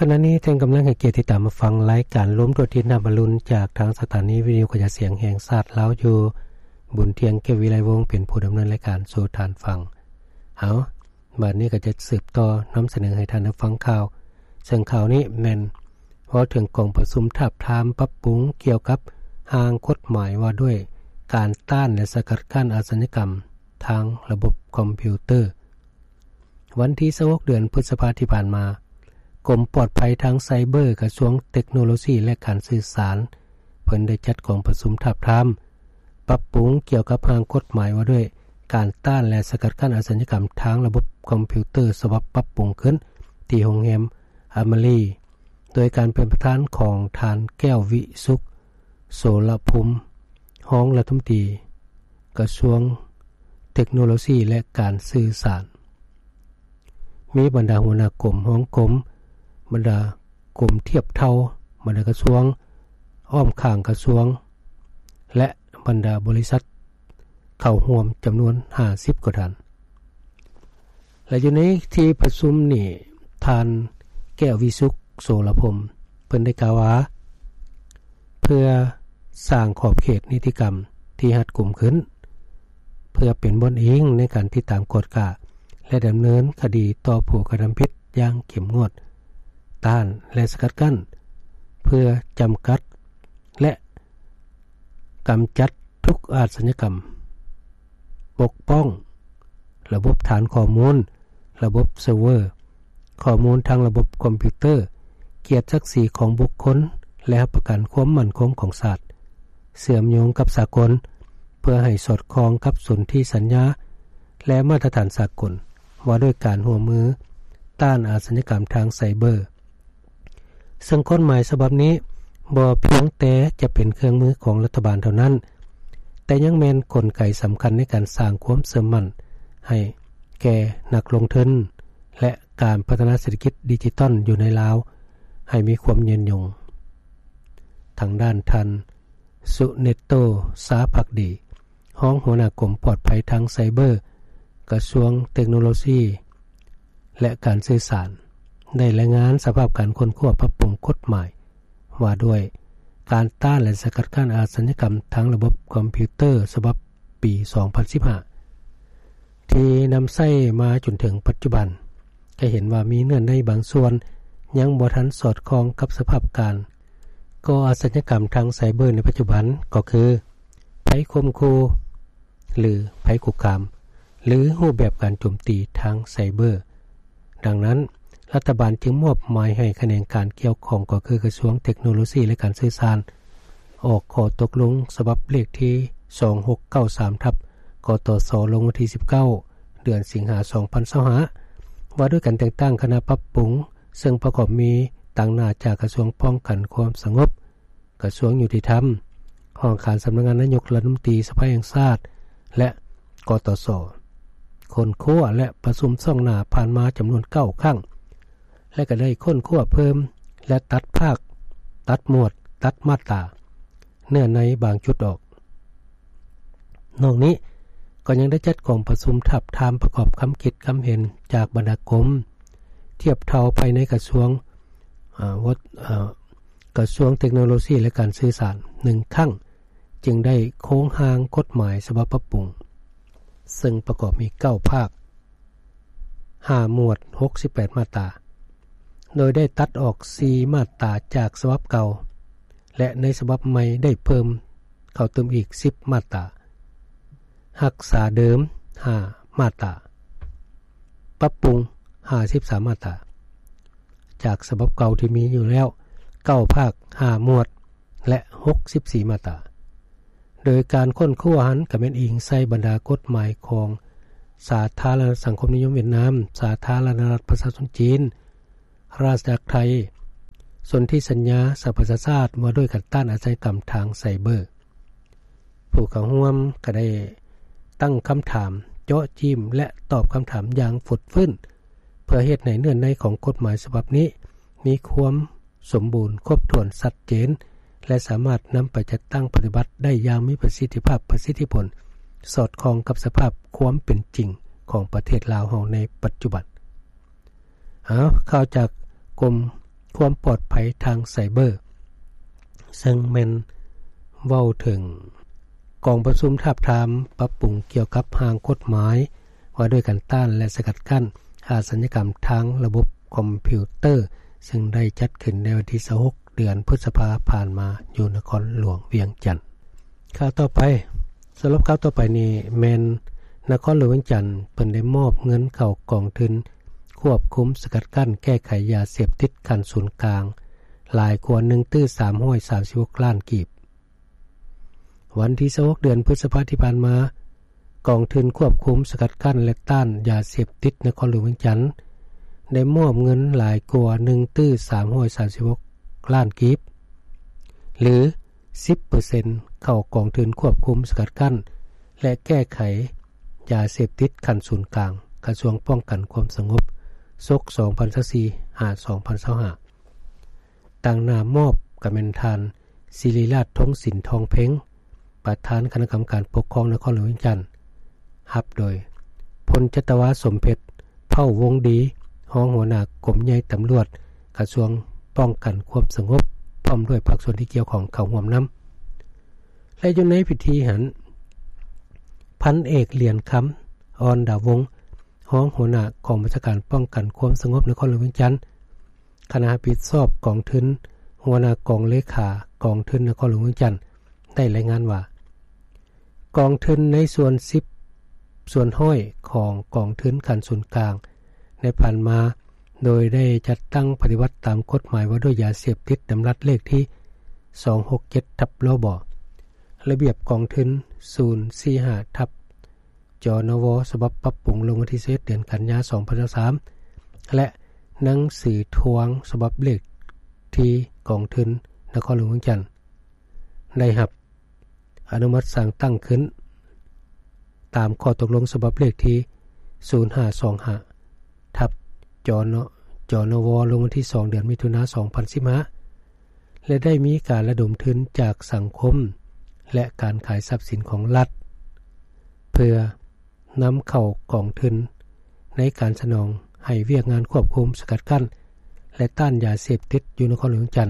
ຂະນະນີ້ທ່ານກຳລັງໃຫ້ກຽດຕິດຕາມຮັບຟັງລາຍການລົມທົ່ວທິດນຳອາລຸນ ຈາກທາງສະຖານີວິທະຍຸກະຈາຍສຽງແຫ່ງຊາດລາວຢູ່. ບຸນທຽງ ແກ້ວວິໄລວົງ ເປັນຜູ້ດຳເນີນລາຍການສູ່ທ່ານຟັງ. ເອົາ, ບາດນີ້ກໍຈະສືບຕໍ່ນຳສະເໜີໃຫ້ທ່ານໄດ້ຟັງຂ່າວ, ເຊິ່ງຂ່າວນີ້ແມ່ນເວົ້າເຖິງກອງປະຊຸມທາບທາມປັບປຸງກ່ຽວກັບຮ່າງກົດໝາຍວ່າດ້ວຍການຕ້ານ ແລະ ສະກັດກັ້ນອາຊະຍາກຳທາງລະບົບຄອມພິວເຕີ. ວັນທີຊາວຫົກ ເດືອນພຶດສະພາທີ່ຜ່ານມາ, ກົມປອດໄພທາງໄຊເບີ ກະຊວງເຕັກໂນໂລຊີ ແລະ ການສື່ສານ ເພິ່ນໄດ້ຈັດກອງປະຊຸມທາບທາມ ປັບປຸງກ່ຽວກັບຮ່າງກົດໝາຍວ່າດ້ວຍການຕ້ານ ແລະ ສະກັດກັ້ນອາຊະຍາກຳທາງລະບົບຄອມພິວເຕີ ສະບັບປັບປຸງຂຶ້ນ ທີ່ໂຮງແຮມອາມາຣີ ໂດຍການເປັນປະທານຂອງທ່ານ ແກ້ວວິສຸກ ໂສລະພົມ ຮອງລັດຖະມົນຕີກະຊວງເຕັກໂນໂລຊີ ແລະ ການສື່ສານ. ມີບັນດາຫົວໜ້າກົມ, ຮອງກົມ, ບັນດາກົມທຽບເທົ່າ, ບັນດາກະຊວງ, ອ້ອມຂ້າງກະຊວງ ແລະ ບັນດາບໍລິສັດເຂົ້າຮ່ວມຈຳນວນຫ້າສິບກວ່າທ່ານ. ແລະ ຢູ່ໃນທີ່ປະຊຸມນີ້, ທ່ານ ແກ້ວວິສຸກ ໂສລະພົມ ເພິ່ນໄດ້ກ່າວວ່າ ເພື່ອສ້າງຂອບເຂດນິຕິກຳທີ່ຮັດກຸມຂຶ້ນ, ເພື່ອເປັນບ່ອນອີງໃນການຕິດຕາມກວດກາ ແລະ ດຳເນີນຄະດີຕໍ່ຜູ້ກະທຳຜິດຢ່າງເຂັ້ມງວດ, ຕ້ານ ແລະ ສະກັດກັ້ນ ເພື່ອຈຳກັດ ແລະ ກຳຈັດທຸກອາຊະຍາກຳ, ປົກປ້ອງລະບົບຖານຂໍ້ມູນ, ລະບົບເຊີເວີ, ຂໍ້ມູນທາງລະບົບຄອມພິວເຕີ, ກຽດສັກສີຂອງບຸກຄົນ ແລະ ຮັບປະກັນຄວາມໝັ້ນຄົງຂອງຊາດ, ເຊື່ອມໂຍງກັບສາກົນ ເພື່ອໃຫ້ສອດຄ່ອງກັບສົນທິສັນຍາ ແລະ ມາດຕະຖານສາກົນ ວ່າດ້ວຍການຮ່ວມມືຕ້ານອາຊະຍາກຳທາງໄຊເບີ. ເຊິ່ງກົດໝາຍສະບັບນີ້ບໍ່ພຽງແຕ່ຈະເປັນເຄື່ອງມືຂອງລັດຖະບານເທົ່ານັ້ນ, ແຕ່ຍັງແມ່ນກົນໄກສຳຄັນໃນການສ້າງຄວາມເຊື່ອໝັ້ນໃຫ້ແກ່ນັກລົງທຶນ ແລະ ການພັດທະນາເສດຖະກິດດິຈິຕອນຢູ່ໃນລາວໃຫ້ມີຄວາມຍືນຍົງ. ທາງດ້ານທ່ານ ສຸເນໂຕ ຊາພັກດີ ຮອງຫົວໜ້າກົມປອດໄພທາງໄຊເບີ ກະຊວງເຕັກໂນໂລຊີ ແລະ ການສື່ສານ ໄດ້ລາຍງານສະພາບການຄົ້ນຄວ້າປັບປຸງກົດໝາຍວ່າດ້ວຍການຕ້ານ ແລະ ສະກັດກັ້ນອາຊະຍາກຳທາງລະບົບຄອມພິວເຕີ ສະບັບປີສອງພັນສິບຫ້າ ທີ່ນຳໃຊ້ມາຈົນເຖິງປັດຈຸບັນ, ຈະເຫັນວ່າມີເງື່ອນໄຂບາງສ່ວນຍັງບໍ່ທັນສອດຄ່ອງກັບສະພາບການກໍ່ອາຊະຍາກຳທາງໄຊເບີໃນປັດຈຸບັນ, ກໍຄືໄພຂົ່ມຂູ່ ຫຼື ໄພຄຸກຄາມ ຫຼື ຮູບແບບການໂຈມຕີທາງໄຊເບີ. ດັ່ງນັ້ນ, ລັດຖະບານຈຶ່ງມອບໝາຍໃຫ້ຂະແໜງການກ່ຽວຂ້ອງ, ກໍຄືກະຊວງເຕັກໂນໂລຊີ ແລະ ການສື່ສານ, ອອກຂໍ້ຕົກລົງສະບັບເລກທີສອງຫົກເກົ້າສາມ ທັບ ກຕສ ລົງວັນທີສິບເກົ້າ ເດືອນສິງຫາ ສອງພັນຊາວຫ້າ ວ່າດ້ວຍການແຕ່ງຕັ້ງຄະນະປັບປຸງ, ເຊິ່ງປະກອບມີຕາງໜ້າຈາກກະຊວງປ້ອງກັນຄວາມສະຫງົບ, ກະຊວງຍຸຕິທຳ, ຫ້ອງການສຳນັກງານນາຍົກລັດຖະມົນຕີ, ສະພາແຫ່ງຊາດ ແລະ ກຕສ ຄົ້ນຄວ້າ ແລະ ປະຊຸມຊ່ວງໜ້າຜ່ານມາຈຳນວນເກົ້າຄັ້ງ ແລະ ກໍໄດ້ຄົ້ນຄວ້າເພີ່ມ ແລະ ຕັດພາກ, ຕັດໝວດ, ຕັດມາດຕາ, ເນື້ອໃນບາງຈຸດອອກ. ນອກນີ້ກໍຍັງໄດ້ຈັດກອງປະຊຸມທາບທາມປະກອບຄຳຄິດຄຳເຫັນຈາກບັນດາກົມທຽບເທົ່າພາຍໃນກະຊວງ, ອາ, ວັດ, ອາ, ກະຊວງເຕັກໂນໂລຊີ ແລະ ການສື່ສານ ໜຶ່ງຄັ້ງ, ຈຶ່ງໄດ້ໂຄງຮ່າງກົດໝາຍສະບັບປັບປຸງ, ເຊິ່ງປະກອບມີເກົ້າພາກ, ຫ້າໝວດ, ຫົກສິບແປດມາດຕາ, ໂດຍໄດ້ຕັດອອກສີ່ມາດຕາຈາກສະບັບເກົ່າ ແລະ ໃນສະບັບໃໝ່ໄດ້ເພີ່ມເຂົ້າຕື່ມອີກສິບມາດຕາ, ຮັກສາເດີມຫ້າມາດຕາ, ປັບປຸງຫ້າສິບສາມມາດຕາ ຈາກສະບັບເກົ່າທີ່ມີຢູ່ແລ້ວເກົ້າພາກ, ຫ້າໝວດ ແລະ ຫົກສິບສີ່ມາດຕາ. ໂດຍການຄົ້ນຄວ້າຫັ້ນກໍແມ່ນອີງໃສ່ບັນດາກົດໝາຍຂອງສາທາລະນະລັດສັງຄົມນິຍົມຫວຽດນາມ, ສາທາລະນະລັດປະຊາຊົນຈີນ, ລາຊະອານາຈັກໄທ, ສົນທິສັນຍາສະຫະປະຊາຊາດວ່າດ້ວຍການຕ້ານອາຊະຍາກຳທາງໄຊເບີ. ຜູ້ເຂົ້າຮ່ວມກໍໄດ້ຕັ້ງຄຳຖາມເຈາະຈີ້ມ ແລະ ຕອບຄຳຖາມຢ່າງຟົດຟື້ນ ເພື່ອເຮັດໃຫ້ເນື້ອໃນຂອງກົດໝາຍສະບັບນີ້ມີຄວາມ ສົມບູນ, ຄົບຖ້ວນ, ຊັດເຈນ ແລະ ສາມາດນຳໄປຈັດຕັ້ງປະຕິບັດໄດ້ຢ່າງມີປະສິດທິພາບ, ປະສິດທິຜົນ, ສອດຄ່ອງກັບສະພາບຄວາມເປັນຈິງຂອງປະເທດລາວເຮົາໃນປັດຈຸບັນ. ເອົາ, ຂ່າວຈາກກົມ ຄວາມປອດໄພທາງໄຊເບີ ເຊິ່ງແມ່ນເວົ້າເຖິງກອງປະຊຸມທາບທາມປັບປຸງກ່ຽວກັບຮ່າງກົດໝາຍວ່າດ້ວຍການຕ້ານ ແລະ ສະກັດກັ້ນອາຊະຍາກຳທາງລະບົບຄອມພິວເຕີ ເຊິ່ງໄດ້ຈັດຂຶ້ນໃນວັນທີຊາວຫົກ ເດືອນພຶດສະພາຜ່ານມາ ຢູ່ນະຄອນຫຼວງວຽງຈັນ. ຂ່າວຕໍ່ໄປ, ສຳລັບຂ່າວຕໍ່ໄປນີ້ແມ່ນນະຄອນຫຼວງວຽງຈັນ ເພິ່ນໄດ້ມອບເງິນເຂົ້າກອງທຶນຄວບຄຸມສະກັດກັ້ນແກ້ໄຂຢາເສບຕິດຂັ້ນສູນກາງ ຫຼາຍກວ່າໜຶ່ງຕື້ສາມຮ້ອຍສາມສິບຫົກລ້ານກີບ. ວັນທີຊາວຫົກ ເດືອນພຶດສະພາທີ່ຜ່ານມາ, ກອງທຶນຄວບຄຸມສະກັດກັ້ນ ແລະ ຕ້ານຢາເສບຕິດນະຄອນຫຼວງວຽງຈັນ ໄດ້ມອບເງິນຫຼາຍກວ່າໜຶ່ງຕື້ສາມຮ້ອຍສາມສິບຫົກລ້ານກີບ ຫຼື ສິບເປີເຊັນ ເຂົ້າກອງທຶນຄວບຄຸມສະກັດກັ້ນ ແລະ ແກ້ໄຂຢາເສບຕິດຂັ້ນສູນກາງ ກະຊວງປ້ອງກັນຄວາມສະຫງົບ ສົກ ສອງພັນຊາວສີ່ ຫາ ສອງພັນຊາວຫ້າ. ຕາງໜ້າມອບກະແມ່ນທ່ານ ສິລິລາດ ທົງສິນທອງເພັງ ປະທານຄະນະກຳມະການປົກຄອງນະຄອນຫຼວງວຽງຈັນ, ຮັບໂດຍ ພົນຈັດຕະວາ ສົມເພັດ ເຜົ່າວົງດີ ຮອງຫົວໜ້າກົມໃຫຍ່ຕຳຫຼວດ ກະຊວງປ້ອງກັນຄວາມສະຫງົບ ພ້ອມດ້ວຍພາກສ່ວນທີ່ກ່ຽວຂ້ອງເຂົ້າຮ່ວມນຳ. ແລະ ຢູ່ໃນພິທີຫັ້ນ, ພັນເອກ ຫຼຽນຄຳ ອອນດາວົງ ຮອງຫົວໜ້າກອງບັນຊາການປ້ອງກັນຄວາມສະຫງົບນະຄອນຫຼວງວຽງຈັນ, ຄະນະຮັບຜິດຊອບກອງທຶນ, ຫົວໜ້າກອງເລຂາກອງທຶນນະຄອນຫຼວງວຽງຈັນ ໄດ້ລາຍງານວ່າ ກອງທຶນໃນສ່ວນສິບສ່ວນຮ້ອຍຂອງກອງທຶນຂັ້ນສູນກາງໃນຜ່ານມາ, ໂດຍໄດ້ຈັດຕັ້ງປະຕິບັດຕາມກົດໝາຍວ່າດ້ວຍຢາເສບຕິດ ດຳລັດເລກທີສອງຫົກເຈັດ ທັບ ລບ ລະບຽບກອງທຶນສູນສີ່ຫ້າ ທັບ ຈນວ ສະບັບປັບປຸງລົງວັນທີສິບເອັດ ເດືອນກັນຍາ ສອງພັນຊາວສາມ ແລະ ໜັງສືທວງສະບັບເລກທີກອງທຶນນະຄອນຫຼວງວຽງຈັນ ໄດ້ຮັບອະນຸມັດສັ່ງຕັ້ງຂຶ້ນ ຕາມຂໍ້ຕົກລົງສະບັບເລກທີສູນຫ້າສອງຫ້າ ທັບ ຈນ ຈນວ ລົງວັນທີສອງ ເດືອນມິຖຸນາ ສອງພັນສິບຫ້າ ແລະ ໄດ້ມີການລະດົມທຶນຈາກສັງຄົມ ແລະ ການຂາຍຊັບສິນຂອງລັດ ເພື່ອນຳເຂົ້າກອງທຶນໃນການສະໜອງໃຫ້ວຽກງານຄວບຄຸມ, ສະກັດກັ້ນ ແລະ ຕ້ານຢາເສບຕິດຢູ່ນະຄອນຫຼວງວຽງຈັນ.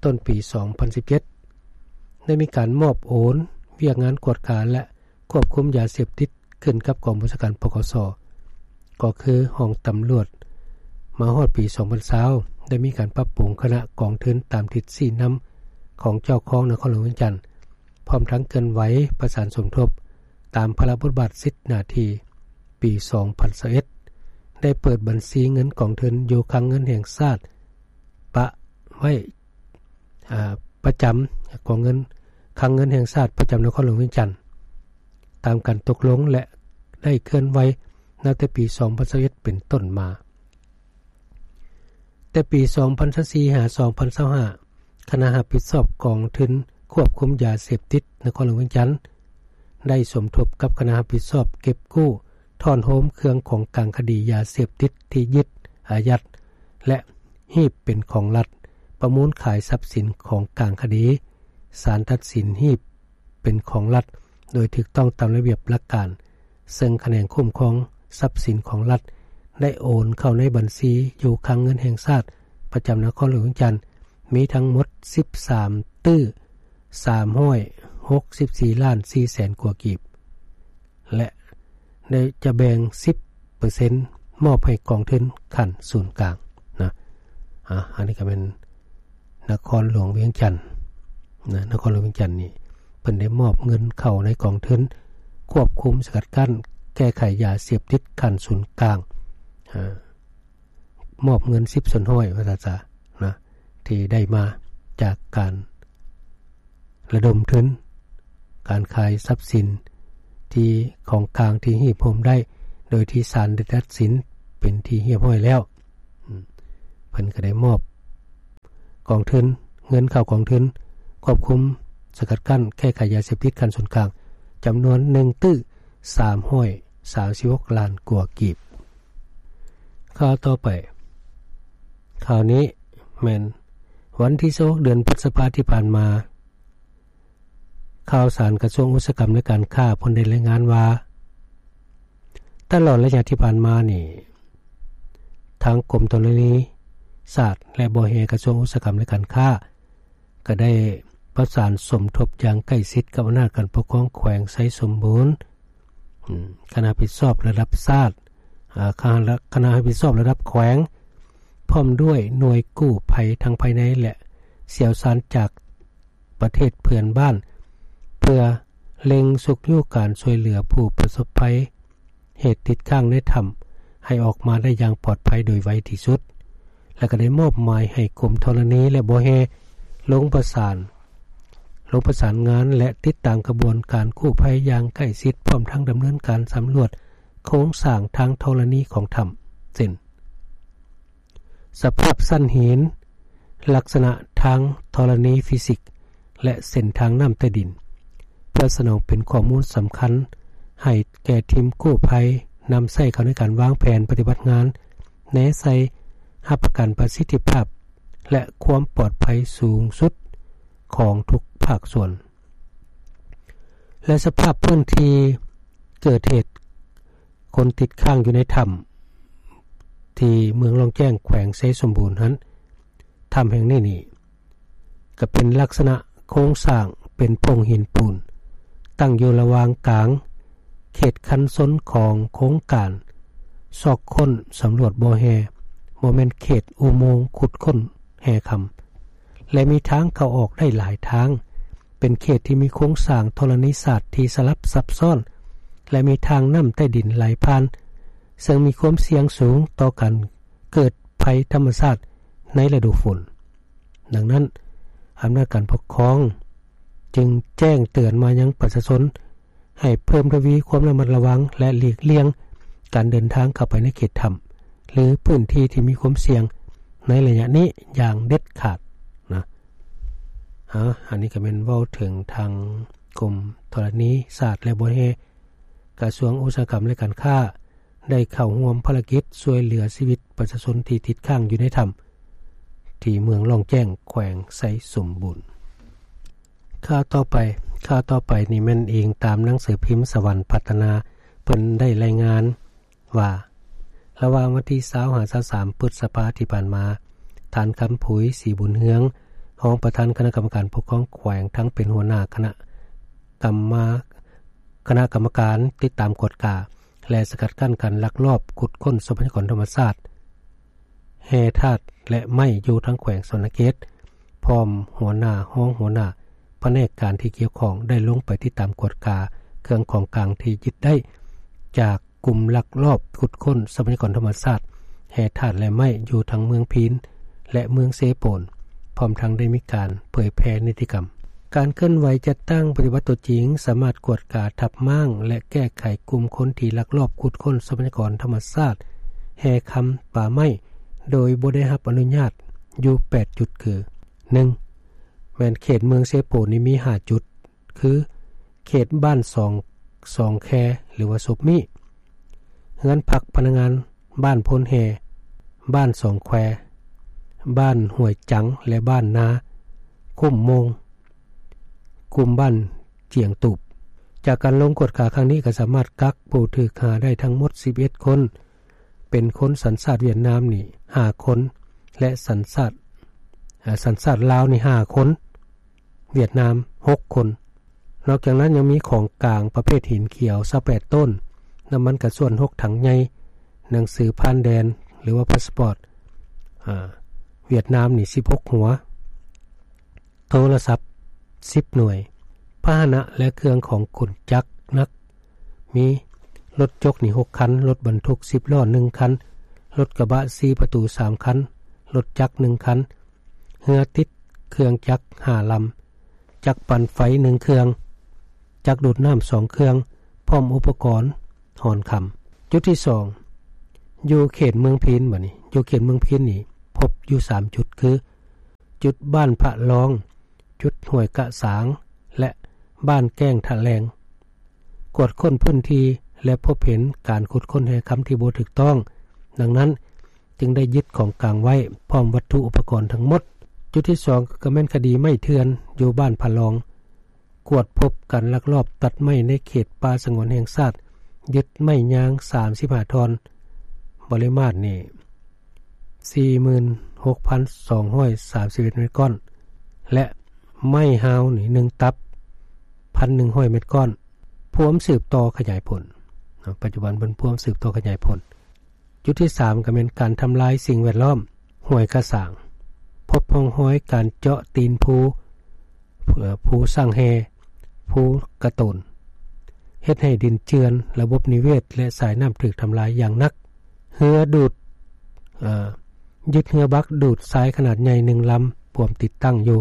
ຕົ້ນປີສອງພັນສິບເຈັດ ໄດ້ມີການມອບໂອນວຽກງານກວດກາ ແລະ ຄວບຄຸມຢາເສບຕິດ ຂຶ້ນກັບກອງບັນຊາການ ປກສ ກໍຄືຫ້ອງຕຳຫຼວດ. ມາຮອດປີສອງພັນຊາວ ໄດ້ມີການປັບປຸງຄະນະກອງທຶນຕາມທິດຊີ້ນຳຂອງເຈົ້າຄອງນະຄອນຫຼວງວຽງຈັນ, ພ້ອມທັງເຄື່ອນໄຫວປະສານສົມທົບຕາມພາລະບົດບາດສິດໜ້າທີ່. ປີສອງພັນຊາວເອັດ ໄດ້ເປີດບັນຊີເງິນກອງທຶນຢູ່ຄັງເງິນແຫ່ງຊາດ ປະໄວ້ ອາ ປະຈຳກອງເງິນ ຄັງເງິນແຫ່ງຊາດປະຈຳນະຄອນຫຼວງວຽງຈັນ ຕາມການຕົກລົງ ແລະ ໄດ້ເຄື່ອນໄຫວນັບແຕ່ປີສອງພັນຊາວເອັດ ເປັນຕົ້ນມາ. ແຕ່ປີສອງພັນຊາວສີ່ ຫາ ສອງພັນຊາວຫ້າ ຄະນະຮັບຜິດຊອບກອງທຶນຄວບຄຸມຢາເສບຕິດນະຄອນຫຼວງວຽງຈັນ ໄດ້ສົມທົບກັບຄະນະຮັບຜິດຊອບເກັບກູ້, ທ້ອນໂຮມເຄື່ອງຂອງກາງຄະດີຢາເສບຕິດທີ່ຍຶດ, ອາຍັດ ແລະ ຮີບເປັນຂອງລັດ, ປະມູນຂາຍຊັບສິນຂອງກາງຄະດີ, ສານຕັດສິນຮີບເປັນຂອງລັດໂດຍຖືກຕ້ອງຕາມລະບຽບຫຼັກການ, ເຊິ່ງຂະແໜງຄຸ້ມຄອງຊັບສິນຂອງລັດ ໄດ້ໂອນເຂົ້າໃນບັນຊີຢູ່ຄັງເງິນແຫ່ງຊາດປະຈຳນະຄອນຫຼວງວຽງຈັນ ມີທັງໝົດສິບສາມຕື້ສາມຮ້ອຍຫົກສິບສີ່ລ້ານສີ່ແສນກວ່າກີບ ແລະ ໄດ້ຈະແບ່ງສິບເປີເຊັນມອບໃຫ້ກອງທຶນຂັ້ນສູນກາງນະ. ອາ ອັນນີ້ກໍແມ່ນນະຄອນຫຼວງວຽງຈັນນະ, ນະຄອນຫຼວງວຽງຈັນນີ້ ເພິ່ນໄດ້ມອບເງິນເຂົ້າໃນກອງທຶນຄວບຄຸມສະກັດກັ້ນແກ້ໄຂຢາເສບຕິດຂັ້ນສູນກາງ, ອາ ມອບເງິນສິບສ່ວນຮ້ອຍ ວ່າຊັ້ນຊະນະ ທີ່ໄດ້ມາຈາກການລະດົມທຶນ, ການຂາຍຊັບສິນທີ່ຂອງກາງທີ່ຮີບໂຮມໄດ້ ໂດຍທີ່ສານໄດ້ຕັດສິນເປັນທີ່ຮຽບຮ້ອຍແລ້ວ. ເພິ່ນກໍໄດ້ມອບກອງທຶນ, ເງິນເຂົ້າກອງທຶນຄວບຄຸມສະກັດກັ້ນແກ້ໄຂຢາເສບຕິດຂັ້ນສູນກາງ ຈຳນວນໜຶ່ງຕື້ສາມຮ້ອຍສາມສິບຫົກລ້ານກວ່າກີບ. ຂ່າວຕໍ່ໄປ, ຂ່າວນີ້ແມ່ນວັນທີຊາວຫົກ ເດືອນພຶດສະພາທີ່ຜ່ານມາ, ຂ່າວສານກະຊວງອຸດສາຫະກຳ ແລະ ການຄ້າ ເພິ່ນໄດ້ລາຍງານວ່າ ຕະຫຼອດໄລຍະທີ່ຜ່ານມານີ້ ທາງກົມທໍລະນີ ຊາດ ແລະ ບໍ່ແຮ່ ກະຊວງອຸດສາຫະກຳ ແລະ ການຄ້າ ກໍໄດ້ປະສານສົມທົບຢ່າງໃກ້ຊິດກັບອຳນາດການປົກຄອງແຂວງໄຊສົມບູນ, ອາ ຄະນະຮັບຜິດຊອບລະດັບຊາດ, ອາ ຄະນະ ຄະນະຮັບຜິດຊອບລະດັບແຂວງ, ພ້ອມດ້ວຍໜ່ວຍກູ້ໄພທັງພາຍໃນ ແລະ ຊ່ຽວຊານຈາກປະເທດເພື່ອນບ້ານ ເພື່ອເລັ່ງຊຸກຍູ້ການຊ່ວຍເຫຼືອຜູ້ປະສົບໄພ ເຫດຕິດຄ້າງໃນຖ້ຳໃຫ້ອອກມາໄດ້ຢ່າງປອດໄພໂດຍໄວທີ່ສຸດ ແລະ ກໍໄດ້ມອບໝາຍໃຫ້ກົມທໍລະນີ ແລະ ບໍ່ແຮ່ ລົງປະສານ, ລົງປະສານງານ ແລະ ຕິດຕາມຂະບວນການກູ້ໄພຢ່າງໃກ້ຊິດ ພ້ອມທັງດຳເນີນການສຳຫຼວດໂຄງສ້າງທາງທໍລະນີຂອງຖ້ຳ ເຊັ່ນ ສະພາບຊັ້ນຫີນ, ລັກສະນະທາງທໍລະນີຟີຊິກ ແລະ ເສັ້ນທາງນ້ຳໃຕ້ດິນ ເພື່ອສະໜອງເປັນຂໍ້ມູນສຳຄັນໃຫ້ແກ່ທີມກູ້ໄພ ນຳໃຊ້ເຂົ້າໃນການວາງແຜນປະຕິບັດງານ ແນໃສ່ຮັບປະກັນປະສິດທິພາບ ແລະ ຄວາມປອດໄພສູງສຸດຂອງທຸກພາກສ່ວນ. ແລະ ສະພາບພື້ນທີ່ເກີດເຫດຄົນຕິດຄ້າງຢູ່ໃນຖ້ຳ ທີ່ເມືອງລ່ອງແຈ້ງ ແຂວງໄຊສົມບູນຫັ້ນ, ຖ້ຳແຫ່ງນີ້ນີ້ ກໍເປັນລັກສະນະໂຄງສ້າງເປັນໂພງຫີນປູນ ຕັ້ງຢູ່ລະຫວ່າງກາງເຂດຄັນຊົນຂອງໂຄງການຊອກຄົ້ນສຳຫຼວດບໍ່ແຮ່, ບໍ່ແມ່ນເຂດອຸໂມງຂຸດຄົ້ນແຮ່ຄຳ ແລະ ມີທາງເຂົ້າອອກໄດ້ຫຼາຍທາງ, ເປັນເຂດທີ່ມີໂຄງສ້າງທໍລະນີສາດທີ່ສະຫຼັບຊັບຊ້ອນ ແລະ ມີທາງນ້ຳໃຕ້ດິນໄຫຼຜ່ານ, ເຊິ່ງມີຄວາມສ່ຽງສູງຕໍ່ການເກີດໄພທຳມະຊາດໃນລະດູຝົນ. ດັ່ງນັ້ນ, ອຳນາດການປົກຄອງຈຶ່ງແຈ້ງເຕືອນມາຍັງປະຊາຊົນ ໃຫ້ເພີ່ມທະວີຄວາມລະມັດລະວັງ ແລະ ຫຼີກລ່ຽງການເດີນທາງເຂົ້າໄປໃນເຂດຖ້ຳ ຫຼື ພື້ນທີ່ທີ່ມີຄວາມສ່ຽງໃນໄລຍະນີ້ຢ່າງເດັດຂາດນະ. ອາ ອັນນີ້ກໍແມ່ນເວົ້າເຖິງທາງກົມທໍລະນີສາດ ແລະ ບໍ່ແຮ່ ກະຊວງອຸດສາຫະກຳ ແລະ ການຄ້າ ໄດ້ເຂົ້າຮ່ວມພາລະກິດຊ່ວຍເຫຼືອຊີວິດປະຊາຊົນທີ່ຕິດຄ້າງຢູ່ໃນຖ້ຳ ທີ່ເມືອງລ່ອງແຈ້ງ ແຂວງໄຊສົມບູນ. ຂ່າວຕໍ່ໄປ, ຂ່າວຕໍ່ໄປນີ້ແມ່ນອີງຕາມໜັງສືພິມສະຫວັນພັດທະນາ ເພິ່ນໄດ້ລາຍງານວ່າ ລະຫວ່າງວັນທີຊາວຫາຊາວສາມ ພຶດສະພາທີ່ຜ່ານມາ, ທ່ານ ຄຳຜຸຍ ສີບຸນເຮືອງ ຮອງປະທານຄະນະກຳມະການປົກຄອງແຂວງ ທັງເປັນຫົວໜ້າຄະນະກຳມະ ຄະນະກຳມະການຕິດຕາມກວດກາ ແລະ ສະກັດກັ້ນການລັກລອບຂຸດຄົ້ນຊັບພະຍາກອນທຳມະຊາດ ແຮ່ທາດ ແລະ ໄມ້ຢູ່ທາງແຂວງສະຫວັນນະເຂດ ພ້ອມຫົວໜ້າ, ຮອງຫົວໜ້າພະແນກການທີ່ກ່ຽວຂ້ອງ ໄດ້ລົງໄປຕິດຕາມກວດກາເຄື່ອງຂອງກາງທີ່ຍຶດໄດ້ຈາກກຸ່ມລັກລອບຂຸດຄົ້ນຊັບພະຍາກອນທຳມະຊາດ ແຮ່ທາດ ແລະ ໄມ້ຢູ່ທັງເມືອງພີນ ແລະ ເມືອງເຊໂປນ, ພ້ອມທັງໄດ້ມີການເຜີຍແຜ່ນິຕິກຳ. ການເຄື່ອນໄຫວຈັດຕັ້ງປະຕິບັດຕົວຈິງ ສາມາດກວດກາທັບມ້າງ ແລະ ແກ້ໄຂກຸ່ມຄົນທີ່ລັກລອບຂຸດຄົ້ນຊັບພະຍາກອນທຳມະຊາດ ແຮ່ຄຳ, ປ່າໄມ້ ໂດຍບໍ່ໄດ້ຮັບອະນຸຍາດຢູ່ແປດຈຸດ ຄື ໜຶ່ງ ແມ່ນເຂດເມືອງເຊໂປນນີ້ມີຫ້າຈຸດ ຄື ເຂດບ້ານສອງ ສອງແຄ ຫຼືວ່າສົບມີ້, ເຮືອນພັກພະນັກງານບ້ານໂພນແຮ່, ບ້ານສອງແຄ, ບ້ານຫ້ວຍຈັງ ແລະ ບ້ານນາຄຸ້ມໂມງ, ກຸ່ມບ້ານຈຽງຕູບ. ຈາກການລົງກວດກາຄັ້ງນີ້ ກໍສາມາດກັກຜູ້ຖືກຫາໄດ້ທັງໝົດສິບເອັດຄົນ, ເປັນຄົນສັນຊາດຫວຽດນາມນີ້ຫ້າຄົນ ແລະ ສັນຊາດ ເອີ ສັນຊາດລາວນີ້ຫ້າຄົນ, ຫວຽດນາມຫົກຄົນ. ນອກຈາກນັ້ນຍັງມີຂອງກາງປະເພດຫີນຂຽວຊາວແປດໂຕນ, ນ້ຳມັນກະຊວນຫົກຖັງໃຫຍ່, ໜັງສືຜ່ານແດນ ຫຼືວ່າພາສປອດ ອາ ຫວຽດນາມນີ້ສິບຫົກຫົວ, ໂທລະສັບສິບໜ່ວຍ, ພາຫະນະ ແລະ ເຄື່ອງຂອງຂົນຈັກໜັກ ມີລົດຈົກນີ້ຫົກຄັນ, ລົດບັນທຸກສິບລໍ້ໜຶ່ງຄັນ, ລົດກະບະສີ່ປະຕູສາມຄັນ, ລົດຈັກໜຶ່ງຄັນ, ເຮືອຕິດເຄື່ອງຈັກຫ້າລຳ, ຈັກປັ່ນໄຟໜຶ່ງເຄື່ອງ, ຈັກດູດນ້ຳສອງເຄື່ອງ, ພ້ອມອຸປະກອນຮ່ອນຄຳ. ຈຸດທີສອງ ຢູ່ເຂດເມືອງພີນ, ບັດນີ້ຢູ່ເຂດເມືອງພີນນີ້ພົບຢູ່ສາມຈຸດ ຄື ຈຸດບ້ານພະລອງ, ຈຸດຫ້ວຍກະສາງ ແລະ ບ້ານແກ້ງທະແລງ. ກວດຄົ້ນພື້ນທີ່ ແລະ ພົບເຫັນການຂຸດຄົ້ນແຮ່ຄຳທີ່ບໍ່ຖືກຕ້ອງ, ດັ່ງນັ້ນຈຶ່ງໄດ້ຍຶດຂອງກາງໄວ້ ພ້ອມວັດຖຸອຸປະກອນທັງໝົດ. ຈຸດທີສອງ ກໍແມ່ນຄະດີໄມ້ເຖື່ອນຢູ່ບ້ານພະລອງ, ກວດພົບການລັກລອບຕັດໄມ້ໃນເຂດປ່າສະຫງວນແຫ່ງຊາດ, ຍຶດໄມ້ຍາງສາມສິບຫ້າທ່ອນ, ປະລິມານນີ້ສີ່ໝື່ນ ຫົກພັນສອງຮ້ອຍສາມສິບເອັດເມັດກ້ອນ ແລະ ໄມ້ຮາວນີ້ໜຶ່ງຕັບ ພັນໜຶ່ງຮ້ອຍເມັດກ້ອນ ພວມສືບຕໍ່ຂະຫຍາຍຜົນ. ປັດຈຸບັນເພິ່ນພວມສືບຕໍ່ຂະຫຍາຍຜົນ. ຈຸດທີສາມ ກໍແມ່ນການທຳລາຍສິ່ງແວດລ້ອມ ຫ້ວຍກະສາງ ພົບຮ່ອງຮອຍການເຈາະຕີນພູ ເອີ ພູສ້າງແຮ່ ພູກະໂຕນ ເຮັດໃຫ້ດິນເຈື່ອນ, ລະບົບນິເວດ ແລະ ສາຍນ້ຳຖືກທຳລາຍຢ່າງໜັກ. ເຮືອດູດ ເອີ ຍຶດເຮືອບັກດູດຊາຍຂະໜາດໃຫຍ່ໜຶ່ງລຳ ພວມຕິດຕັ້ງຢູ່,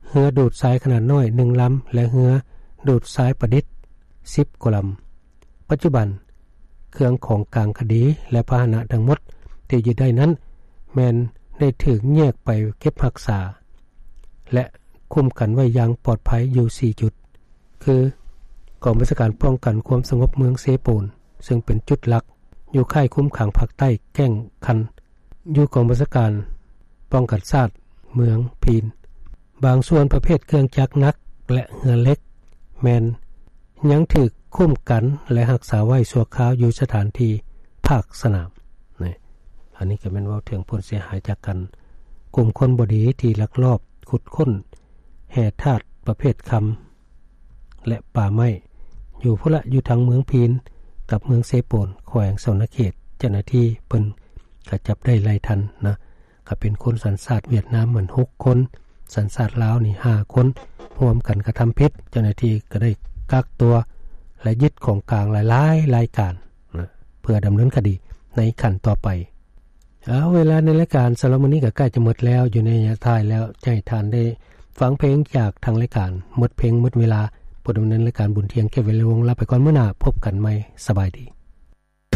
ເຮືອດູດຊາຍຂະໜາດນ້ອຍໜຶ່ງລຳ ແລະ ເຮືອດູດຊາຍປະດິດສິບກວ່າລຳ. ປັດຈຸບັນ ເຄື່ອງຂອງກາງຄະດີ ແລະ ພາຫະນະທັງໝົດທີ່ຍຶດໄດ້ນັ້ນ ແມ່ນໄດ້ຖືກແຍກໄປເກັບຮັກສາ ແລະ ຄຸ້ມກັນໄວ້ຢ່າງປອດໄພຢູ່ສີ່ຈຸດ ຄື ກອງບັນຊາການປ້ອງກັນຄວາມສະຫງົບເມືອງເຊໂປນ ເຊິ່ງເປັນຈຸດຫຼັກ ຢູ່ຄ້າຍຄຸມຂັງພາກໃຕ້ແກ້ງຄັນ ຢູ່ກອງບັນຊາການປ້ອງກັນຊາດເມືອງພີນ. ບາງສ່ວນປະເພດເຄື່ອງຈັກໜັກ ແລະ ເຮືອເຫຼັກ ແມ່ນຍັງຖືກຄຸ້ມກັນ ແລະ ຮັກສາໄວ້ຊົ່ວຄາວຢູ່ສະຖານທີ່ພາກສະໜາມ. ນີ້ ອັນນີ້ກໍແມ່ນເວົ້າເຖິງຜົນເສຍຫາຍຈາກການ ກຸ່ມຄົນບໍ່ດີທີ່ລັກລອບຂຸດຄົ້ນແຮ່ທາດປະເພດຄຳ ແລະ ປ່າໄມ້ ຢູ່ພຸ້ນລະ ຢູ່ທາງເມືອງພີນກັບເມືອງເຊໂປນ ແຂວງສະຫວັນນະເຂດ. ເຈົ້າໜ້າທີ່ເພິ່ນກໍຈັບໄດ້ຫຼາຍທ່ານນະ ກໍເປັນຄົນສັນຊາດຫວຽດນາມມັນຫົກຄົນ, ສັນຊາດລາວນີ້ຫ້າຄົນ ຮ່ວມກັນກະທຳຜິດ. ເຈົ້າໜ້າທີ່ກໍໄດ້ກັກຕົວ ແລະ ຍຶດຂອງກາງຫຼາຍໆລາຍການນະ ເພື່ອດຳເນີນຄະດີໃນຂັ້ນຕໍ່ໄປ. ເອົາ ເວລາໃນລາຍການສຳລັບມື້ນີ້ກໍໃກ້ຈະໝົດແລ້ວ, ຢູ່ໃນໄລຍະທ້າຍແລ້ວ ຈະໃຫ້ທ່ານໄດ້ຟັງເພງຈາກທາງລາຍການ. ໝົດເພງໝົດເວລາ, ຜູ້ດຳເນີນລາຍການ ບຸນທ່ຽງ ແກ້ວວິໄລວົງ ລາໄປກ່ອນ, ມື້ໜ້າພົບກັນໃໝ່. ສະບາຍດີ.